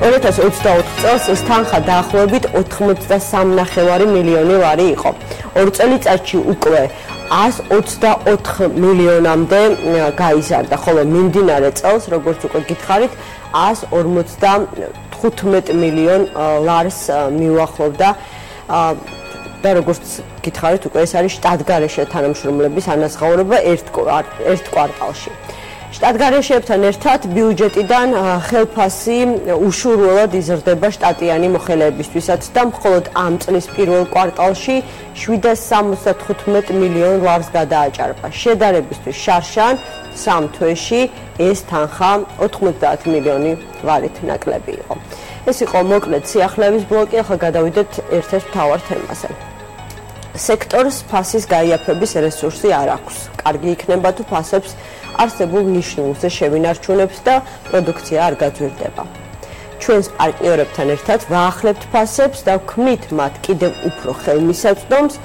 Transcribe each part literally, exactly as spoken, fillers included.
ორი ათას ოცდაოთხ წელს ეს თანხა დაახლოებით ოთხმოცდასამი ნახევარი მილიონი ლარი იყო. ორ წელიწადში უკვე ას ოცდაოთხ მილიონამდე გაიზარდა, ხოლო მიმდინარე წელს, როგორც უკვე გითხარით, ას ორმოცდათხუთმეტ მილიონ ლარს მიუახლოვდა და როგორც გითხარით, უკვე ეს არის შტატგარეშე თანამშრომლების ანაზღაურება ერთ ერთ კვარტალში. შტატგარეშეებთან ერთად ბიუჯეტიდან ხელფასი უშუალოდ იზრდება შტატიანი მოხელეებისთვისაც და მხოლოდ ამ წლის პირველ კვარტალში შვიდას სამოცდათხუთმეტ მილიონ ლარს გადააჭარბა. შედარებისთვის შარშან სამ თვეში ეს თანხა ოთხმოცდაათი მილიონი ლარით ნაკლები იყო. ეს იყო მოკლედ სიახლეების ბლოკი, ახლა გადავიდეთ ერთ-ერთ მთავარ თემაზე. სექტორს ფასის გაიაფების რესურსი არ აქვს. კარგი იქნება თუ ფასებს არსებულ ნიშნულზე შევინარჩუნებთ და პროდუქცია არ გაძვირდება. ჩვენს პარტნიორებთან ერთად ვაახლებთ ფასებს და ვქმნით მათ კიდევ უფრო ხელმისაწვდომს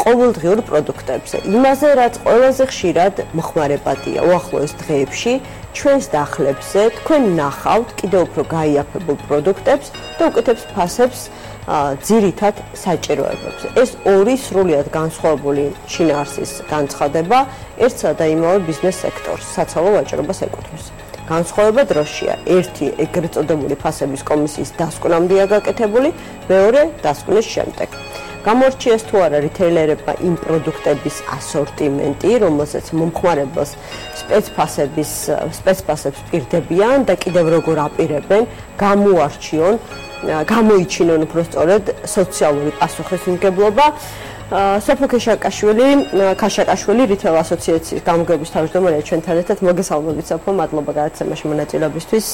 ყოველდღიურ პროდუქტებზე. იმაზე, რაც ყველაზე ხშირად მოხმარებადია უახლოეს დღეებში, ჩვენს დახლებზე თქვენ ნახავთ კიდევ უფრო გაიაფებულ პროდუქტებს და უკეთებს ფასებს ძირითად საჭიროებებზე. ეს ორი სრულიად განსხვავებული შინაარსის განცხადება ერთსა და იმავე ბიზნეს სექტორს, საცალო ვაჭრობას ეკუთვნის. განსხვავება დროშია. ერთი ეგრეთ წოდებული ფასების კომისიის დასკვნამდეა გაკეთებული, მეორე დასკვნის შემდეგ. გამორჩიეს თუ არა რიტეილერებმა იმ პროდუქტების ასორტიმენტი, რომელსაც მომხმარებელს სპეცფასების სპეცფასებს პირდებიან და კიდევ როგორ აპირებენ გამოარჩიონ გამოიჩინონ უბრალოდ სოციალური პასუხისმგებლობა. სოფო ქაშაკაშვილი, ქაშაკაშვილი რიტეილ ასოციაციის გამგეობის თავმჯდომარეა ჩვენთან ერთად. მოგესალმებით სოფო, მადლობა გადაცემაში მონაწილეობისთვის.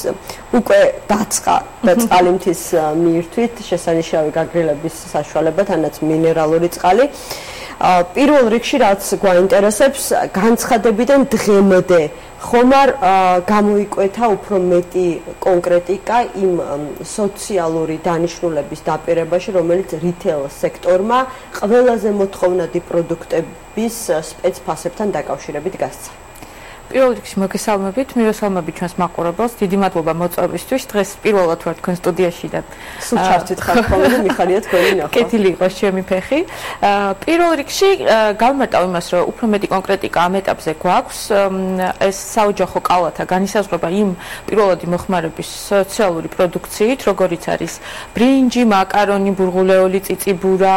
უკვე დაწყა და წყალიმთის მიირთვით შესანიშნავი გაგრილების საშუალება, თანაც მინერალური წყალი. პირველ რიგში რაც გვაინტერესებს, განცხადებიდან დღემდე ხომ არ გამოიკვეთა უფრო მეტი კონკრეტიკა იმ სოციალური დანიშნულების დაპირებაში, რომელიც რიტეილ სექტორმა ყველაზე მოთხოვნადი პროდუქტების სპეცფასებთან დაკავშირებით გასცა. პირველ რიგში მოგესალმებით, მივესალმებით ჩვენს მაყურებელს. დიდი მადლობა მოწვევისთვის. დღეს პირველად ვარ თქვენ სტუდიაში და სულ ჩართვით ხარ ხოლმე, მიხარია თქვენი ნახვა. კეთილი იყოს ჩემი ფეხი. პირველ რიგში გავმარტავ იმას, რომ უფრო მეტი კონკრეტიკა ამ ეტაპზე გვაქვს. ეს საოჯახო კალათა განისაზღვრება იმ პირველადი მოხმარების სოციალური პროდუქციით, როგორიც არის ბრინჯი, მაკარონი, ბურღულეული, წიწიბურა,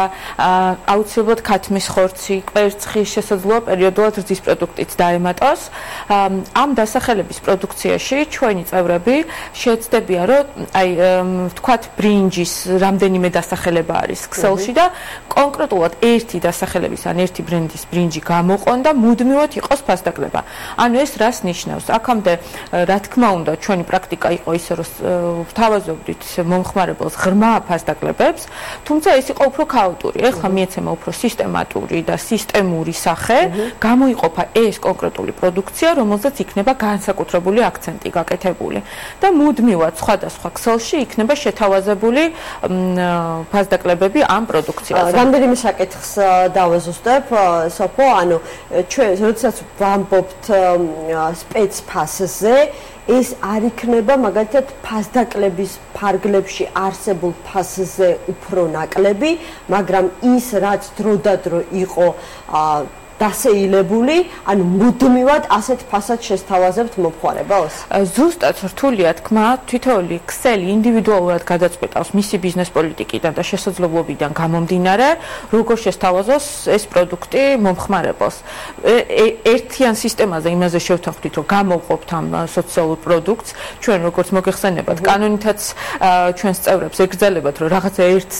აუცილებლად ქათმის ხორცი, კვერცხი, შესაძლოა პერიოდულად რძის პროდუქტიც დაემატოს. ამ დასახელების პროდუქციაში ჩვენი წევრები შეეცდებიან, რომ აი ვთქვათ ბრინჯის რამდენიმე დასახელება არის ქსელში და კონკრეტულად ერთი დასახელების ან ერთი ბრენდის ბრინჯი გამოყონ და მუდმივად იყოს ფასდაკლება. ანუ ეს რას ნიშნავს? აქამდე რა თქმა უნდა ჩვენი პრაქტიკა იყო ისე, რომ ვთავაზობდით მომხმარებელს ღრმა ფასდაკლებებს, თუმცა ეს იყო უფრო ქაოტური. ეხლა მიეცემა უფრო სისტემატური და სისტემური სახე, გამოიყოფა ეს კონკრეტული პროდუქცია, რომელზეც იქნება განსაკუთრებული აქცენტი გაკეთებული და მუდმივად სხვადასხვა ქსელში იქნება შეთავაზებული ფასდაკლებები ამ პროდუქციაზე. რამდენიმე საკითხს დავაზუსტებ, სოფო, ანუ ჩვენ როდესაც ვამბობთ სპეცფასზე, ეს არ იქნება მაგალითად ფასდაკლების ფარგლებში არსებულ ფასზე უფრო ნაკლები, მაგრამ ის რაც დროდადრო იყო დასეილებული, ანუ მუდმივად ასეთ ფასად შესთავაზებთ მომხმარებელს? ზუსტად რთულია თქმა, თითოეული ქსელი ინდივიდუალურად გადაწყვეტავს მისი ბიზნეს პოლიტიკიდან და შესაძლებლობიდან გამომდინარე, როგორ შესთავაზოს ეს პროდუქტი მომხმარებელს. ერთიან სისტემაზე იმაზე შევთანხმდით, რომ გამოვყოფთ ამ სოციალურ პროდუქტს, ჩვენ როგორც მოგეხსენებათ, კანონითაც ჩვენს წევრებს ეკრძალებათ, რომ რაღაცა ერთ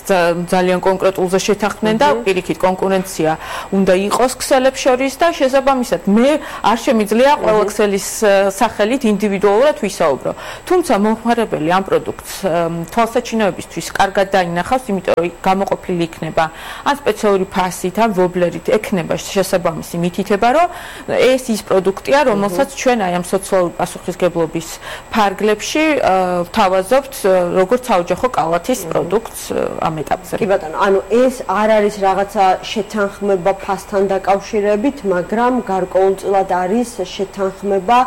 ძალიან კონკრეტულზე შეთანხმდნენ და პირიქით კონკურენცია უნდა იყოს ქსელი შორის და შესაბამისად მე არ შემიძლია ყველა ქსელის სახელით ინდივიდუალურად ვისაუბრო. თუმცა მომხმარებელი ამ პროდუქტს თვალსაჩინოებისთვის კარგად დაინახავს, იმიტომ რომ გამოყოფილი იქნება ან სპეციალური ფასით, ან ვობლერით ექნება შესაბამისი მითითება, რომ ეს ის პროდუქტია, რომელსაც ჩვენ აი ამ სოციალური პასუხისმგებლობის ფარგლებში ვთავაზობთ როგორც საოჯახო კალათის პროდუქტს ამ ეტაპზე. კი ბატონო, ანუ ეს არ არის რაღაცა შეთანხმება ფასთან დაკავშირებით, მაგრამ გარკვეულწილად არის შეთანხმება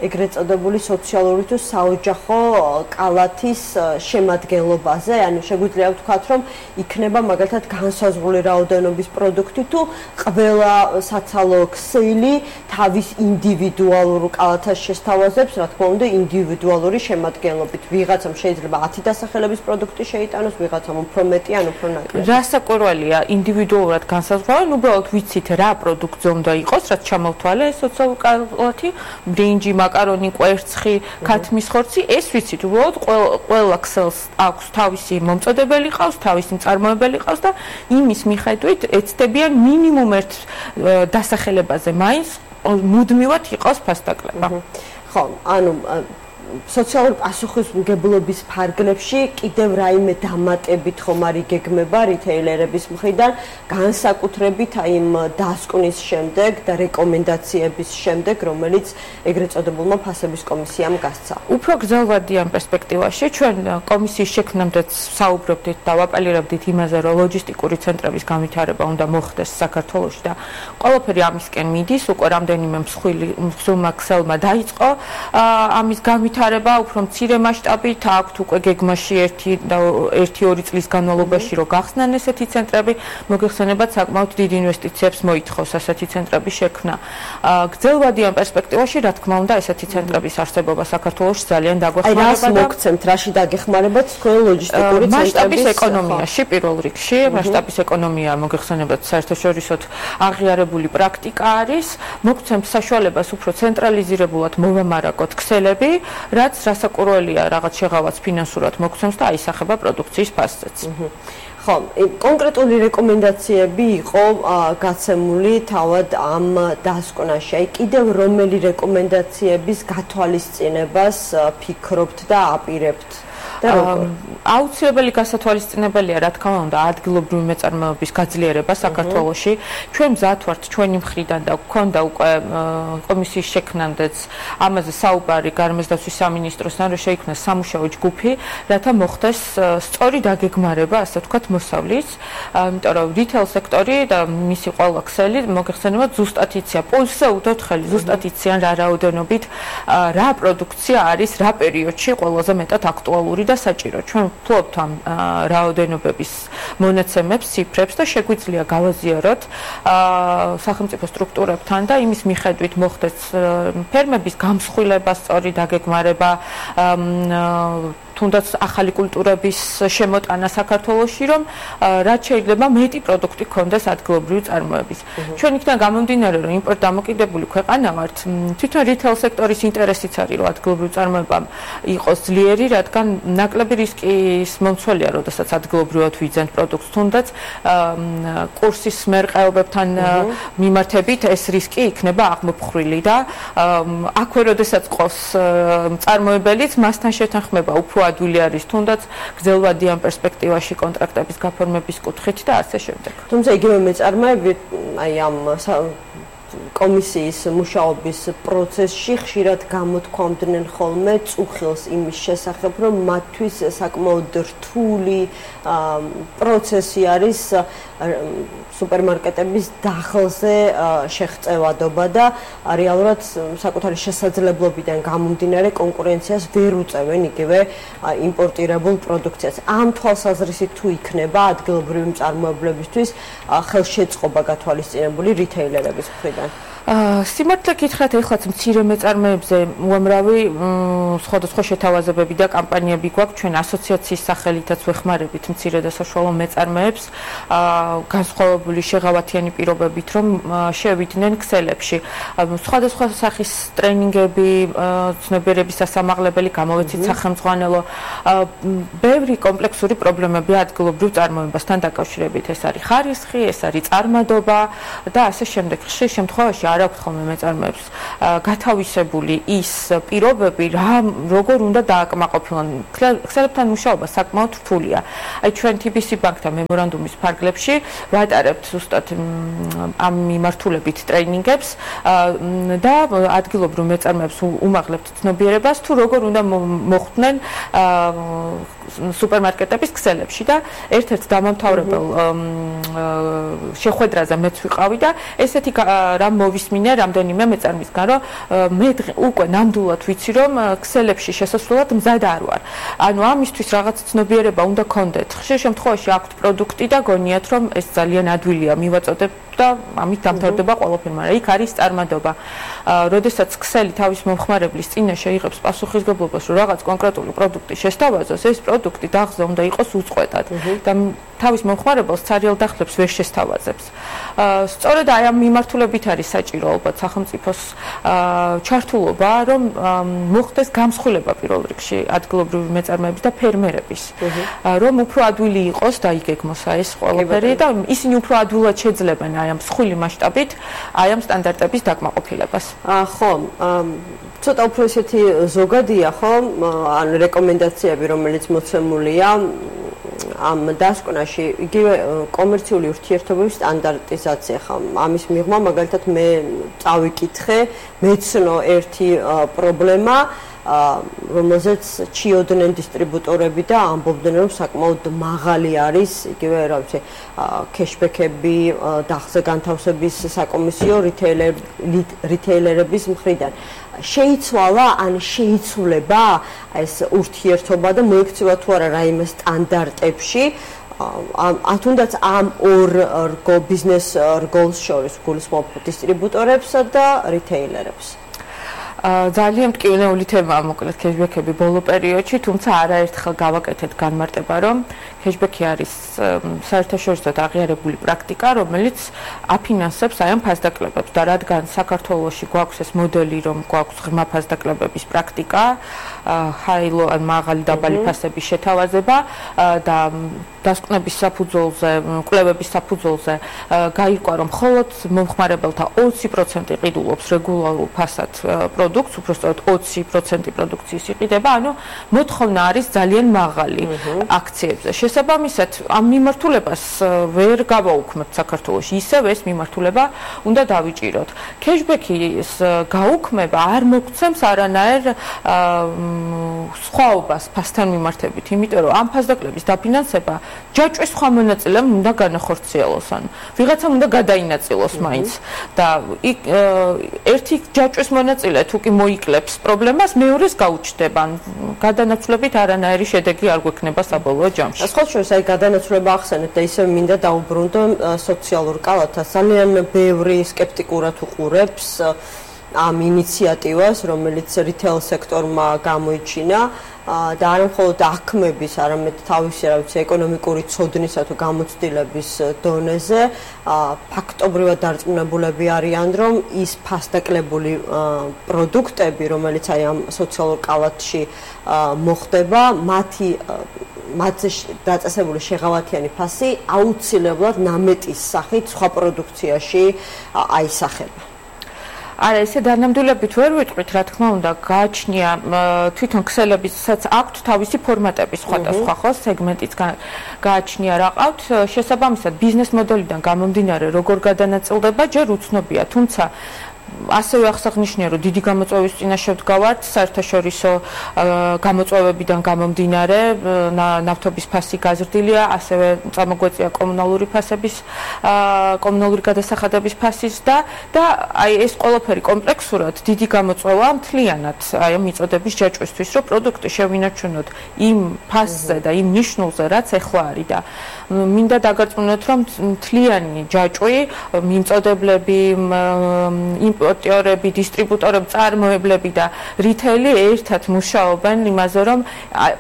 ეგრეთ წოდებული სოციალური თუ საოჯახო კალათის შემადგენლობაზე, ანუ შეგვიძლია ვთქვათ, რომ იქნება მაგალითად განსაზღვრული რაოდენობის პროდუქტი თუ ყველა საცალო ქსელი თავის ინდივიდუალურ კალათას შესთავაზებს, რა თქმა უნდა, ინდივიდუალური შემადგენლობით. ვიღაცამ შეიძლება ათი დასახელების პროდუქტი შეიტანოს, ვიღაცამ უფრო მეტი, ან უფრო ნაკლები. რასაკვირველია, ინდივიდუალურად განსაზღვრავენ, უბრალოდ ვიცით რა პროდუქტზე უნდა იყოს, რაც ჩამოვთვალე ეს სოციალური კალათი, ბრინჯი, მაკარონი, კვერცხი, ქათმის ხორცი, ეს ვიცით, უბრალოდ ყველა ქსელს აქვს თავისი მომწოდებელი ყავს, თავისი მწარმოებელი ყავს და იმის მიხედვით ეცდებიან მინიმუმ ერთ დასახელებაზე მაინც მუდმივად იყოს ფასდაკლება. ხო, ანუ სოციალური პასუხისმგებლობის ფარგლებში კიდევ რაიმე დამატებით ხომ არ იგეგმება რიტეილერების მხრიდან განსაკუთრებით აი იმ დასკვნის შემდეგ და რეკომენდაციების შემდეგ, რომელიც ეგრეთ წოდებულმა ფასების კომისიამ გასცა. უფრო გრძელვადიან პერსპექტივაში ჩვენ კომისიის შექმნამდეც საუბრობდით და ვაპარაკობდით იმაზე, რომ ლოჯისტიკური ცენტრების განვითარება უნდა მოხდეს საქართველოში და ყველაფერი ამისკენ მიდის, უკვე რამდენიმე მსხვილი მსხვილმა ქსელმა დაიწყო ამის განვითარება ვითარება უფრო მცირე მასშტაბით აქვთ უკვე გეგმაში ერთი ერთი ორი წლის განმავლობაში რომ გახსნან ესეთი ცენტრები, მოგეხსენებათ საკმაოდ დიდ ინვესტიციებს მოითხოვს ასეთი ცენტრების შექმნა. გრძელვადიან პერსპექტივაში, რა თქმა უნდა, ესეთი ცენტრების არსებობა საქართველოში ძალიან დაგვეხმარება და აი რას მოგცემთ, რაში დაგეხმარებათ თქვენ ლოჯისტიკური ცენტრების მასშტაბის ეკონომიაში პირველ რიგში, მასშტაბის ეკონომია მოგეხსენებათ საერთაშორისოდ აღიარებული პრაქტიკა არის, მოგცემთ საშუალებას უფრო ცენტრალიზირებულად მოვამარაგოთ ქსელები, რაც რასაკვირველია რაღაც შეღავაც ფინანსურად მოგცემს და აისახება პროდუქციის ფასზეც. ხო, კონკრეტული რეკომენდაციები იყო გაცემული თავად ამ დასკვნაში. აი კიდევ რომელი რეკომენდაციების გათვალისწინებას ფიქრობთ და აპირებთ? აუცილებელი გასათვალისწინებელია, რა თქმა უნდა, ადგილობრივი მეწარმეობის გაძლიერება საქართველოში. ჩვენ მზად ვართ ჩვენი მხრიდან და გვქონდა უკვე კომისიის შექმნამდეც ამაზე საუბარი გარემოსდაცვის სამინისტროსთან, რომ შეიქმნას სამუშაო ჯგუფი, რათა მოხდეს სწორი დაგეგმარება, ასე ვთქვათ, მოსავლის, იმიტომ რომ რიტეილ სექტორი და მისი ყველა ქსელი მოგეხსენებათ ზუსტად იციან, პულსზე უდოთ ხელი, ზუსტად იციან რა რაოდენობით რა პროდუქცია არის რა პერიოდში ყველაზე მეტად აქტუალური და საჭირო. ჩვენ ვფლობთ ამ რაოდენობების მონაცემებს, ციფრებს და შეგვიძლია გავაზიაროთ სახელმწიფო სტრუქტურებთან და იმის მიხედვით მოხდეს ფერმების გამსხვილება, სწორი დაგეგმარება, თუნდაც ახალი კულტურების შემოტანა საქართველოში, რომ რაც შეიძლება მეტი პროდუქტი გქონდეს ადგილობრივი წარმოების. ჩვენ იქიდან გამომდინარე, რომ იმპორტ დამოკიდებული ქვეყანა ვართ, თვითონ რიტეილ სექტორის ინტერესიც არის, რომ ადგილობრივი წარმოება იყოს ძლიერი, რადგან ნაკლები რისკის მომცველია, როდესაც ადგილობრივად ვიძენთ პროდუქტს, თუნდაც კურსის მერყეობებთან მიმართებით ეს რისკი იქნება აღმოფხრილი და აქვე როდესაც ყავს მწარმოებელიც, მასთან შეთანხმება უფრო ადვილი არის, თუნდაც გრძელვადიან პერსპექტივაში კონტრაქტების გაფორმების კუთხით და ასე შემდეგ. თუმცა იგივე მეწარმეები აი ამ კომისიის მუშაობის პროცესში ხშირად გამოთქვამდნენ ხოლმე წუხილს იმის შესახებ, რომ მათთვის საკმაოდ რთული პროცესი არის სუპერმარკეტების დახლზე შეღწევადობა და რეალურად საკუთარი შესაძლებლობიდან გამომდინარე კონკურენციას ვერ უწევენ იგივე იმპორტირებულ პროდუქციას. ამ თვალსაზრისით თუ იქნება ადგილობრივი მწარმოებლებისთვის ხელშეწყობა გათვალისწინებული რიტეილერების მხრიდან? სიმართლე გითხრათ, ეხლაც მცირე მეწარმეებზე უამრავი სხვადასხვა შეთავაზებები და კამპანიები გვაქვს. ჩვენ ასოციაციის სახელითაც ვეხმარებით მცირე და საშუალო მეწარმეებს განსხვავებული შეღავათიანი პირობებით, რომ შევიდნენ ქსელებში. სხვადასხვა სახის ტრენინგები, ცნობიერების სასამაღლებელი, გამოვეცით სახელმძღვანელო, ბევრი კომპლექსური პრობლემები ადგილობრივ წარმოებასთან დაკავშირებით. ეს არის ხარისხი, ეს არის წარმადობა და ასე შემდეგ. ხშირ შემთხვევაში არ აქვთ ხოლმე მეწარმეებს გათავისებული ის პირობები, რა როგორ უნდა დააკმაყოფილონ. ქსელებთან მუშაობა საკმაოდ რთულია. აი ჩვენ თი ბი სი ბანკთან მემორანდუმის ფარგლებში ვატარებთ ზუსტად ამ მიმართულებით ტრეინინგებს და ადგილობრივ მეწარმეებს უმაღლებთ ცნობიერებას თუ როგორ უნდა მოხვდნენ სუპერმარკეტების ქსელებში და ერთ-ერთ დამამთავრებელ შეხვედრაზე მეც ვიყავი და ესეთი რამ მოვისმინე მივისმინე რამდენიმე მეწარმისგან, რომ მე უკვე ნამდვილად ვიცი, რომ ქსელებში შესასვლელად მზად არ ვარ. ანუ ამისთვის რაღაც ცნობიერება უნდა გქონდეთ. ხშირ შემთხვევაში აქვთ პროდუქტი და გონიათ, რომ ეს ძალიან ადვილია მივაწოდებ და ამით დამთავრდება ყველაფერი, მაგრამ იქ არის წარმადობა. როდესაც ქსელი თავის მომხმარებლის წინაშე იღებს პასუხისგებლობას, რომ რაღაც კონკრეტული პროდუქტი შესთავაზოს, ეს პროდუქტი დაღზე უნდა იყოს უწყვეტად და თავის მომხმარებელს ცარიელ დახლებს ვერ შესთავაზებს. სწორედ აი ამ მიმართულებით არის საჭირო ალბათ სახელმწიფოს ჩართულობა, რომ მოხდეს გამსხვილება პირველ რიგში ადგილობრივი მეწარმეების და ფერმერების, რომ უფრო ადვილი იყოს დაიგეგმოს ეს ყველაფერი და ისინი უფრო ადვილად შეძლებენ აი ამ მსხვილი მასშტაბით აი ამ სტანდარტების დაკმაყოფილებას. ხო, ცოტა უფრო ისეთი ზოგადია, ხო, ან რეკომენდაციები, რომელიც მოცემულია ამ დასკვნაში, იგივე კომერციული ურთიერთობების სტანდარტიზაცია ხა. ამის მიღმა მაგალითად მე წავიკითხე, მეცნო ერთი პრობლემა, რომელზეც ჩიოდნენ დისტრიბუტორები და ამბობდნენ, რომ საკმაოდ მაღალი არის, იგივე რა ვიცი, კეშბექები, დახზე განთავსების საკომისიო რიტეილერების მხრიდან. შეიცვალა ან შეიცვლება ეს ურთიერთობა და მოექცევა თუ არა რაიმე სტანდარტებში, თუნდაც ამ ორ ბიზნეს რგოლს შორის გულისხმობ დისტრიბუტორებსა და რიტეილერებს. ძალიან მტკივნეული თემაა მოკლედ კეშბექები ბოლო პერიოდში, თუმცა არაერთხელ გავაკეთეთ განმარტება, რომ კეშბექი არის საერთაშორისო აღიარებული პრაქტიკა, რომელიც აფინანსებს აი ამ ფასდაკლებებს და რადგან საქართველოში გვაქვს ეს მოდელი, რომ გვაქვს ღრმა ფასდაკლებების პრაქტიკა, ჰაილო ან მაღალი დაბალი ფასების შეთავაზება და დასკვნების საფუძველზე, კვლევების საფუძველზე გაირკვა, რომ მხოლოდ მომხმარებელთა ოცი პროცენტი ყიდულობს რეგულარულ ფასად პროდუქტს, უბრალოდ ოცი პროცენტი პროდუქციის იყიდება, ანუ მოთხოვნა არის ძალიან მაღალი აქციებზე. შესაბამისად, ამ მიმართულებას ვერ გავაუქმებთ საქართველოში, ისევ ეს მიმართულება უნდა დავიჭიროთ. კეშბექის გაუქმება არ მოგცემს არანაირ სხვაობას ფასთან მიმართებით, იმიტომ რომ ამ ფასდაკლების დაფინანსება ჯაჭვის სხვა მონაწილემ უნდა განახორციელოს, ანუ ვიღაცამ უნდა გადაინაწილოს მაინც და ერთი ჯაჭვის მონაწილე თუ კი მოიკლებს პრობლემას, მეორეს გაუჩნდება, გადანაცვლებით არანაირი შედეგი არ გვექნება საბოლოო ჯამში. სხვა შორის აი გადანაცვლება ახსენეთ და ისევ მინდა დაუბრუნდო სოციალურ კალათას. ძალიან ბევრი სკეპტიკურად უყურებს ამ ინიციატივას, რომელიც რიტეილ სექტორმა გამოიჩინა და არა მხოლოდ აქმების, არამედ თავისი, რა ვიცი, ეკონომიკური ცოდნისა თუ გამოცდილების დონეზე ფაქტობრივად დარწმუნებულები არიან, რომ ის ფასდაკლებული პროდუქტები, რომელიც აი ამ სოციალურ კალათში მოხდება, მათი მათზე დაწესებული შეღავათიანი ფასი აუცილებლად ნამეტის სახით სხვა პროდუქციაში აისახება. არა, ესე დანამდვილებით ვერ ვიტყვით, რა თქმა უნდა, გააჩნია თვითონ ქსელებისაც აქვთ თავისი ფორმატები სხვადასხვა, ხო, სეგმენტიც გააჩნია რა ყავთ, შესაბამისად ბიზნეს მოდელიდან გამომდინარე, როგორ გადანაწილდება, ჯერ უცნობია, თუმცა ასევე აღსანიშნავია, რომ დიდი გამოწვევის წინაშე ვდგავართ, საერთაშორისო გამოწვევებიდან გამომდინარე, ნავთობის ფასი გაზრდილია, ასევე წამოგვეწია კომუნალური ფასების, კომუნალური გადასახადების ფასის და და აი ეს ყველაფერი კომპლექსურად დიდი გამოწვევა მთლიანად აი ამ მიწოდების ჯაჭვისთვის, რომ პროდუქტი შევინარჩუნოთ იმ ფასზე და იმ ნიშნულზე, რაც ეხლა არის და მინდა დაგარწმუნოთ, რომ მთლიანი ჯაჭვი, მიმწოდებლები, იმპორტიორები, დისტრიბუტორები, წარმოებლები და რიტეილი ერთად მუშაობენ იმაზე, რომ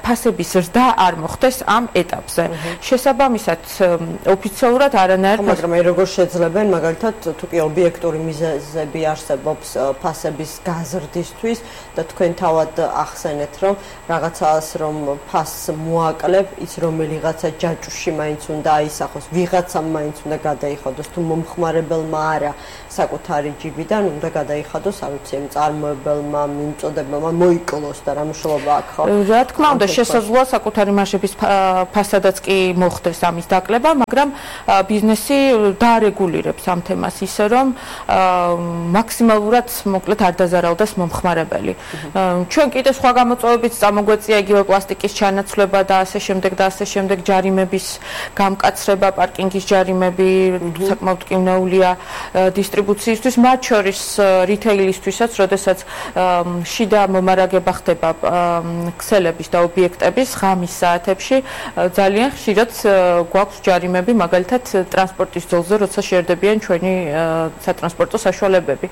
ფასების ზრდა არ მოხდეს ამ ეტაპზე. შესაბამისად, ოფიციალურად არანაირ მაგრამ აი როგორ შეძლებენ, მაგალითად, თუ კი ობიექტური მიზეზები არსებობს ფასების გაზრდისთვის და თქვენ თავად ახსენეთ, რომ რაღაცას რომ ფასს მოაკლებ, ის რომელიღაცა ჯაჭვში მაინც უნდა აისახოს, ვიღაცამ მაინც უნდა გადაიხადოს, თუ მომხმარებელმა არა საკუთარი ჯიბიდან უნდა გადაიხადოს, არ ვიცი, მწარმოებელმა, მიმწოდებელმა მოიკლოს და რა მნიშვნელობა აქვს, ხო? რა თქმა უნდა, შესაძლოა საკუთარი მარჟების ფასადაც კი მოხდეს ამის დაკლება, მაგრამ ბიზნესი დაარეგულირებს ამ თემას ისე, რომ მაქსიმალურად მოკლედ არ დაზარალდეს მომხმარებელი. ჩვენ კიდე სხვა გამოწვევებით წამოგვეწია იგივე პლასტიკის ჩანაცვლება და ასე შემდეგ და ასე შემდეგ ჯარიმების გამკაცრება, პარკინგის ჯარიმები საკმაოდ მტკივნეულია დისტრიბუციისთვის, მათ შორის ნიშნავს რიტეილისთვისაც, როდესაც შიდა მომარაგება ხდება ქსელების და ობიექტების ღამის საათებში, ძალიან ხშირად გვაქვს ჯარიმები, მაგალითად ტრანსპორტის ძოლზე, როცა შერდებიან ჩვენი სატრანსპორტო საშუალებები.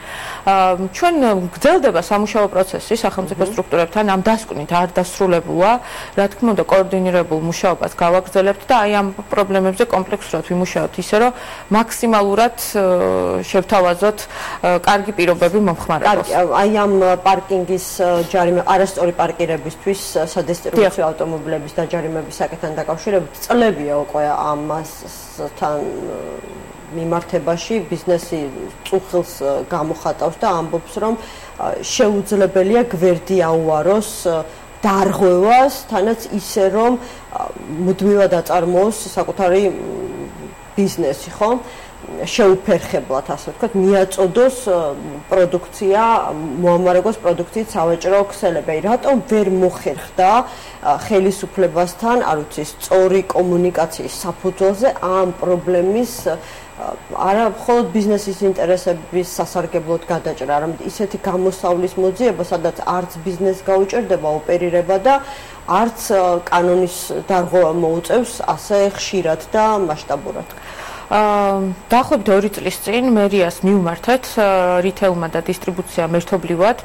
ჩვენ გრძელდება სამუშაო პროცესი სახელმწიფო სტრუქტურებთან, ამ დასკვნით არ დასრულებულა, რა თქმა უნდა, კოორდინირებულ მუშაობას გავაგრძელებთ და აი ამ პრობლემებზე კომპლექსურად ვიმუშაობთ, ისე რომ მაქსიმალურად შევთავაზოთ კარგი პირობები მომხმარებელს. აი ამ პარკინგის ჯარიმე, არასწორი პარკირებისთვის სადესტრიბუციო ავტომობილების დაჯარიმების საკითხთან დაკავშირებით წლებია უკვე ამასთან მიმართებაში ბიზნესი წუხილს გამოხატავს და ამბობს, რომ შეუძლებელია გვერდი აუაროს დარღვევას, თანაც ისე რომ მუდმივად აწარმოოს საკუთარი ბიზნესი, ხო? შეუფერხებლად, ასე ვთქვათ, მიაწოდოს პროდუქცია, მოამარაგოს პროდუქციით სავაჭრო ქსელები. რატომ ვერ მოხერხდა ხელისუფლებასთან, არ ვიცი, სწორი კომუნიკაციის საფუძველზე ამ პრობლემის არა მხოლოდ ბიზნესის ინტერესების სასარგებლოდ გადაჭრა, არამედ ისეთი გამოსავლის მოძიება, სადაც არც ბიზნესს გაუჭირდება ოპერირება და არც კანონის დარღვევა მოუწევს ასე ხშირად და მასშტაბურად. დაახლოებით ორი წლის წინ მერიას მივმართეთ რიტეილმა და დისტრიბუციამ ერთობლივად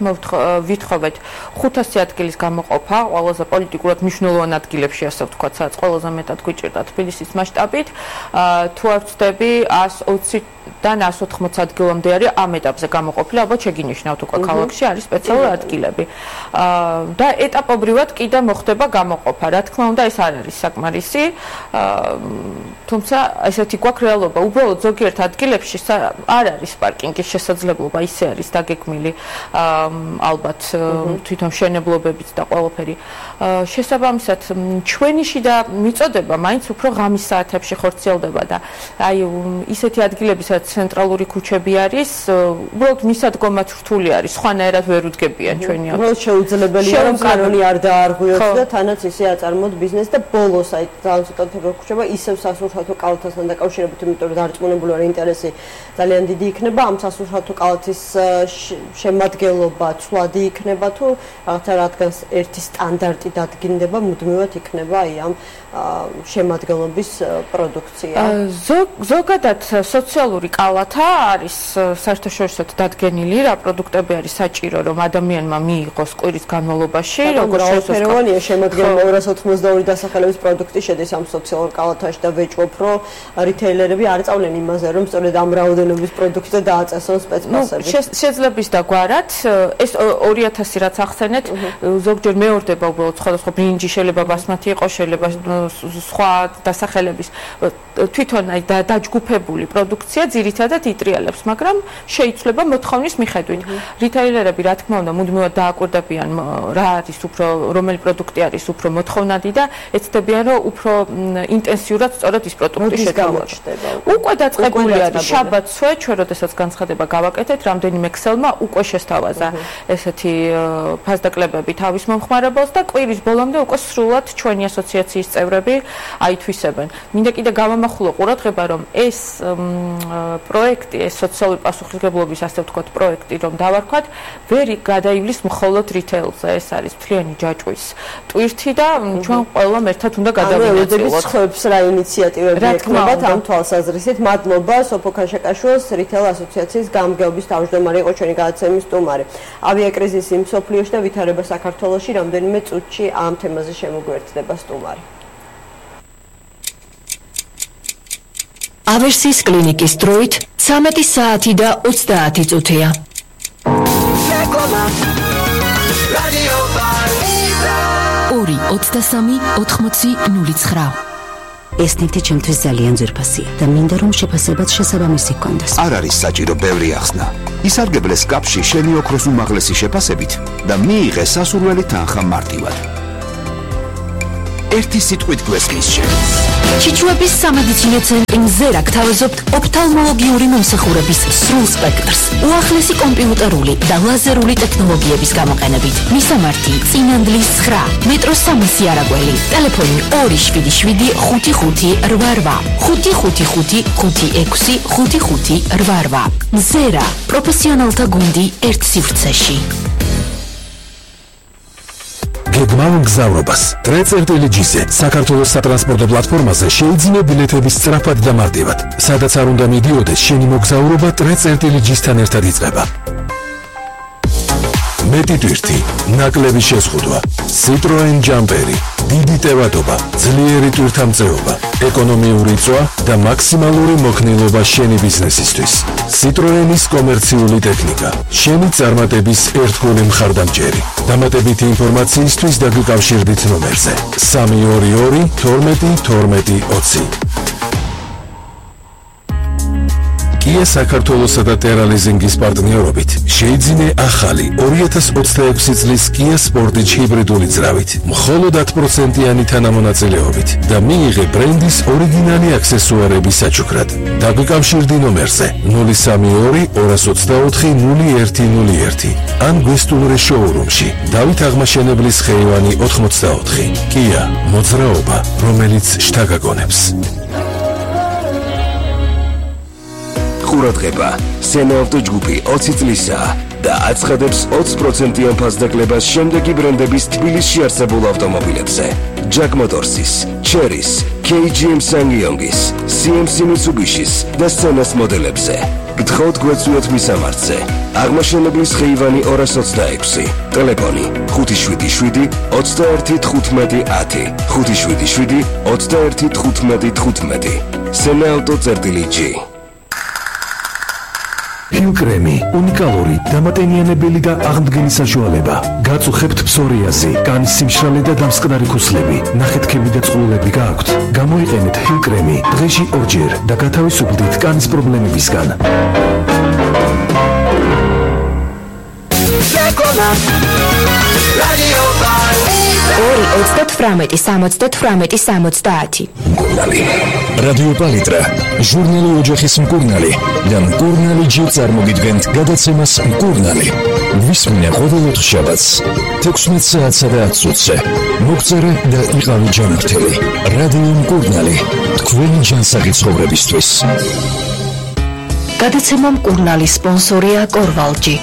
ვითხოვეთ ხუთასი ადგილის გამოყოფა ყველაზე პოლიტიკურად მნიშვნელოვან ადგილებში, ასე ვთქვათ, სადაც ყველაზე მეტად გვიჭირდა თბილისის მასშტაბით. თუ არ ვცდები, ას ოცდან ას ოთხმოცი ადგილამდე არის ამ ეტაპზე გამოყოფილი, ალბათ შეგინიშნავთ უკვე ქალაქში არის სპეციალური ადგილები. და ეტაპობრივად კიდე მოხდება გამოყოფა. რა თქმა უნდა, ეს არ არის საკმარისი, თუმცა ესეთი გვაქვს რეალობა. უბრალოდ ზოგიერთ ადგილებში არ არის პარკინგის შესაძლებლობა, ისე არის დაგეგმილი ალბათ თვითონ მშენებლობებიც და ყველაფერი. შესაბამისად, ჩვენი შიდა მიწოდება მაინც უფრო ღამის საათებში ხორციელდება და აი ისეთი ადგილები, სადაც ცენტრალური ქუჩები არის, უბრალოდ მისადგომად რთული არის, სხვანაირად ვერ უდგებიან ჩვენი აქ. უბრალოდ შეუძლებელია, რომ კანონი არ დაარღვიოს და თანაც ისე აწარმოოთ ბიზნესს და ბოლოს აი ძალიან ცოტა როქუჩება ისევ სასურსათო კალათასთან დაკავშირებით, იმიტომ რომ დარწმუნებული ვარ ინტერესი ძალიან დიდი იქნება ამ სასურსათო კალათის შემადგენლობა ცვლადი იქნება თუ რაღაცა რადგან ერთი სტანდარტი დადგინდება, მუდმივად იქნება აი ამ შემადგენლობის პროდუქცია. ზოგადად სოციალური კალათა არის საერთაშორისოდ დადგენილი, რა პროდუქტები არის საჭირო, რომ ადამიანმა მიიღოს კვირის განმავლობაში, როგორც შეესაბამება შემადგენლობა ორას ოცდაორი დასახელების პროდუქტი შედის ამ სოციალურ კალათაში და ვეჭვობ, რომ რიტეილერები არ წავლენ იმაზე, რომ სწორედ ამ რაოდენობის პროდუქტზე დააწესონ სპეცფასები. შეძლებს და გვარად ეს ორი ათასი რაც ახსენეთ, ზოგჯერ მეორდება უბრალოდ სხვადასხვა ბრინჯი, შეიძლება ბასმათი იყოს, შეიძლება სხვა დასახელების თვითონ აი დაჯგუფებული პროდუქცია ძირითადად იტრიალებს, მაგრამ შეიცვლება მოთხოვნის მიხედვით. რიტეილერები, რა თქმა უნდა, მუდმივად დააკვირდებიან რა არის უფრო, რომელი პროდუქტი არის უფრო მოთხოვნადი და ეცდებიან, რომ უფრო ინტენსიურად სწორედ ის პროდუქტი შეთავაზდება. უკვე დაწყებული არის შაბათსვე, ჩვენ როდესაც განცხადება გავაკეთეთ, რამდენიმე ქსელმა უკვე შესთავაზა ესეთი ფასდაკლებები თავის მომხმარებელს და კვირის ბოლომდე უკვე სრულად ჩვენი ასოციაციის წევრები აითვისებენ. მინდა კიდე გავამახვილო ყურადღება, რომ ეს პროექტი, ეს სოციალური პასუხისმგებლობის, ასე ვთქვათ, პროექტი, რომ დავარქვათ, ვერ გადაივლის მხოლოდ რიტეილზე, ეს არის მთლიანი ჯაჭვის ტვირთი და ჩვენ ყველამ ერთად უნდა გადავინაწილოთ. ხოებს რა ინიციატივები ექნებათ ამ თვალსაზრისით. მადლობა სოფო ქაშაკაშვილს, რიტეილ ასოციაციის გამგეობის თავმჯდომარე იყო ჩვენი გადაცემის სტუმარი. ავიაკრიზისი მსოფლიოში და ვითარება საქართველოში რამდენიმე წუთში ამ თემაზე შემოგვერთდება სტუმარი. ავერსის კლინიკის დროით ცამეტი საათი და ოცდაათი წუთია. ორი ოცდასამი ოთხმოცი ნული ცხრა. ეს ნივთი ჩემთვის ძალიან ძვირფასია და მინდა რომ შეფასებაც შესაბამისი გქონდეს. არ არის საჭირო ბევრი ახსნა. ისარგებლეს კაპში შენი ოქროს უმაღლესი შეფასებით და მიიღე სასურველი თანხა მარტივად. ერთი სიტყვით გვესმის შენს. ჩიჩუების სამედიცინო ცენტრი მზერა გთავაზობთ ოფთალმოლოგიური მომსახურების სრულ სპექტრს, უახლესი კომპიუტერული და ლაზერული ტექნოლოგიების გამოყენებით. მისამართი: წინანდლის ცხრა, მეტროს სამასი არაგველი, ტელეფონი ორი შვიდი შვიდი ხუთი ხუთი რვა რვა, ხუთი ხუთი ხუთი ხუთი ექვსი ხუთი ხუთი რვა რვა. მზერა, პროფესიონალთა გუნდი ერთ სივრცეში. გეგმავ მგზავრობას. ტრეწერტილიჯიზე საქართველოს სატრანსპორტო პლატფორმაზე შეიძინე ბილეთების სწრაფად და მარტივად. სადაც არ უნდა მიდიოდეს, შენი მოგზაურობა ტრეწერტილიჯისთან ერთად იწყება. მეტი ტვირთი, ნაკლები შეზღუდვა, Citroen ჯამპერი, დიდი ტევადობა, ძლიერი ტვირთამწეობა, ეკონომიური წვა და მაქსიმალური მოქნილობა შენი ბიზნესისთვის. Citroenis კომერციული ტექნიკა, შენი წარმატების ერთგული მხარდამჭერი. დამატებითი ინფორმაციისთვის დაგიკავშირდით ნომერზე სამი ორი ორი თორმეტი თორმეტი ოცი. Kia საქართველოსა და Terra Leasing-ის პარტნიორობით შეიძინე ახალი ორი ათას ოცდაექვსი წლის Kia Sportage ჰიბრიდული ძრავით, მხოლოდ ათი პროცენტიანი თანამონაწილეობით და მიიღე ბრენდის ორიგინალი აქსესუარების საჩუქრად. დაგიკავშირდი ნომერზე ნული სამი ორი ორას ოცდაოთხი ნული ერთი ნული ერთი ან გვესტუმრე შოურუმში დავით აღმაშენებლის ხეივანი ოთხმოცდაოთხი. Kia, მოძრაობა, რომელიც შთაგაგონებს. ყურადღება, სენაავტო ჯგუფი ოცი წლისაა და აცხადებს ოცი პროცენტიან ფასდაკლებას შემდეგი ბრენდების თბილისში არსებულ ავტომობილებზე: Jack Motors-ის, Chery-ის, კეი ჯი ემ Ssangyong-ის, სი ემ სი Mitsubishi-ის და Sena-ს მოდელებზე. გთხოვთ გვეწვიოთ მისამართზე. აღმაშენებლის ხეივანი ორას ოცდაექვსი, ტელეფონი ხუთი შვიდი შვიდი ოცდაერთი თხუთმეტი ათი, ხუთი შვიდი შვიდი ოცდაერთი თხუთმეტი თხუთმეტი. Sena-auto წერტილი ჯი. ჰილკრემი, უნიკალური, დამატენიანებელი და აღმდგენი საშუალება. გაწუხებთ ფსორიაზი, კანის სიმშრალე და დამსკნარი ქუსლები, ნახეთქები და წყლულები გააქვთ. გამოიყენეთ ჰილკრემი დღეში ორჯერ და გათავისუფლდით კანის პრობლემებისგან. ორი ოცდათვრამეტი სამოცდათვრამეტი სამოცდაათი. მკურნალი. რადიო პალიტრა, ჟურნალი ოჯახის მკურნალი და მკურნალი ჯი წარმოგიდგენთ გადაცემას მკურნალი. ვისმინე ყოველ ოთხშაბათს თექვსმეტ საათსა და ათს ოცზე. მოგწერე და იყავი ჯანმრთელი. რადიო მკურნალი, თქვენი ჯანსაღი ცხოვრებისთვის. გადაცემა მკურნალი სპონსორია კორვალჯი.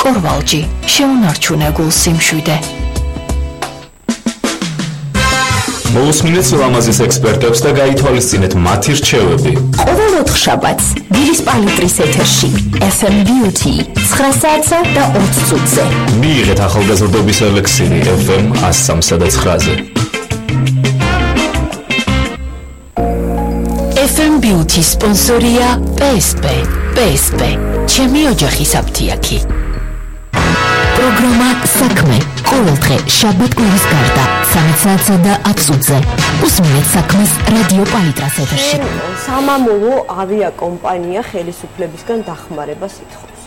კორვალჯი, შეუნარჩუნე გულს სიმშვიდე. მოусმინეთ ლამაზის ექსპერტებს და გაითვალისწინეთ მათი რჩევები. ყოველ ოთხშაბათს დილის პალიტრის ეთერში ეფ ემ Beauty ცხრა საათსა და ოცი წუთზე. მიიღეთ ახალგაზრდობის ელექსირი ეფ ემ ას სამსა და ცხრაზე. ეფ ემ Beauty სპონსორია პი ეს პი. პი ეს პი, ჩემი ოჯახის აფთიაქი. პროგრამა საქმე ყოველდღე შაბათ-კვირის გარდა სამი საათსა და ათს ოცზე. უსმინეთ საქმეს რადიო პალიტრას ეთერში. სამამულო ავიაკომპანია ხელისუფლებისგან დახმარებას ითხოვს.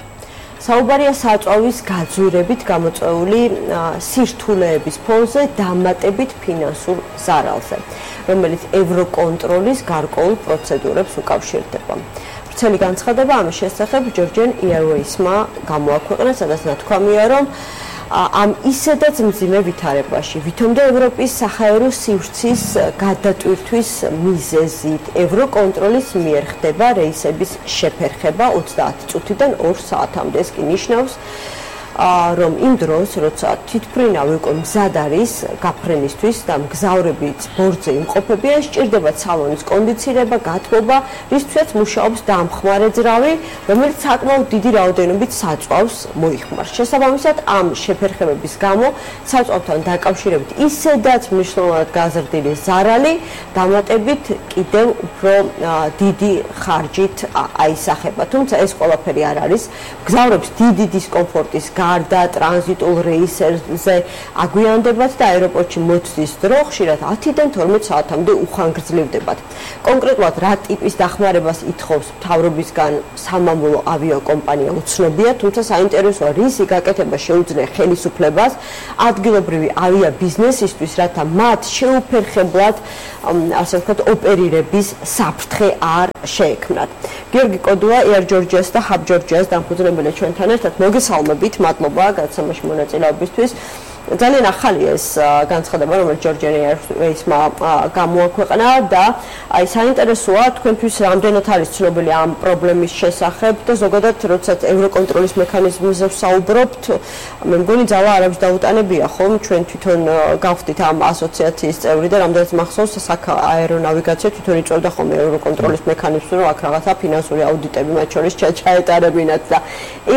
საუბარია საწვავის გაძვირებით გამოწვეული სირთულეების ფონზე დამატებით ფინანსურ ზარალზე, რომელიც ევროკონტროლის გარკვეულ პროცედურებს უკავშირდება. ვრცელი განცხადება ამის შესახებ Georgian Airways-მა გამოაქვეყნა, სადაც ნათქვამია, რომ ამ ისედაც მძიმე ვითარებაში ვითომდა ევროპის საჰაერო სივრცის გადატვირთვის მიზეზით ევროკონტროლის მიერ ხდება რეისების შეფერხება ოცდაათი წუთიდან ორ საათამდე. ეს კი ნიშნავს, რომ იმ დროს, როცა თვითმფრინავი უკვე მზად არის გაფრენისთვის და მგზავრები ბორცზე იმყოფებიან, სჭირდება სალონის კონდიცირება, გათბობა, რისთვისაც მუშაობს დამხმარე ძრავი, რომელიც საკმაოდ დიდი რაოდენობით საწვავს მოიხმარს. შესაბამისად, ამ შეფერხებების გამო საწვავთან დაკავშირებით ისედაც მნიშვნელოვნად გაზრდილი ზარალი დამატებით კიდევ უფრო დიდი ხარჯით აისახება. თუმცა ეს ყველაფერი არ არის მგზავრებს დიდი დისკომფორტის გარდა ტრანზიტულ რეისებზე აგვიანდებათ და აეროპორტში მოწვის დრო ხშირად ათიდან თორმეტ საათამდე უხანგრძლივდებათ. კონკრეტულად რა ტიპის დახმარებას ითხოვს მთავრობისგან სამამულო ავიაკომპანია უცნობია, თუმცა საინტერესოა რისი გაკეთება შეუძლია ხელისუფლებას ადგილობრივი ავიაბიზნესისთვის, რათა მათ შეუფერხებლად ასე ვთქვათ ოპერირების საფრთხე არ შეექმნათ. გიორგი კოდუა, Air Georgias და Hub Georgias დამფუძნებელი ჩვენთან ერთად. მოგესალმებით, მადლობა გადაცემაში მონაწილეობისთვის. ძალიან ახალია ეს განცხადება, რომელიც Georgian Airways-მა გამოაქვეყნა და აი საინტერესოა თქვენთვის რამდენად არის ცნობილი ამ პრობლემის შესახებ და ზოგადად როდესაც ევროკონტროლის მექანიზმზე ვსაუბრობთ, მე მგონი ძალა არ აქვს დაუტანებია, ხომ? ჩვენ თვითონ გავხდით ამ ასოციაციის წევრი და რამდენიც მახსოვს სააერონავიგაცია თვითონ იწვევდა ხოლმე ევროკონტროლის მექანიზმს, რომ აქ რაღაცა ფინანსური აუდიტები მათ შორის ჩაეტარებინათ და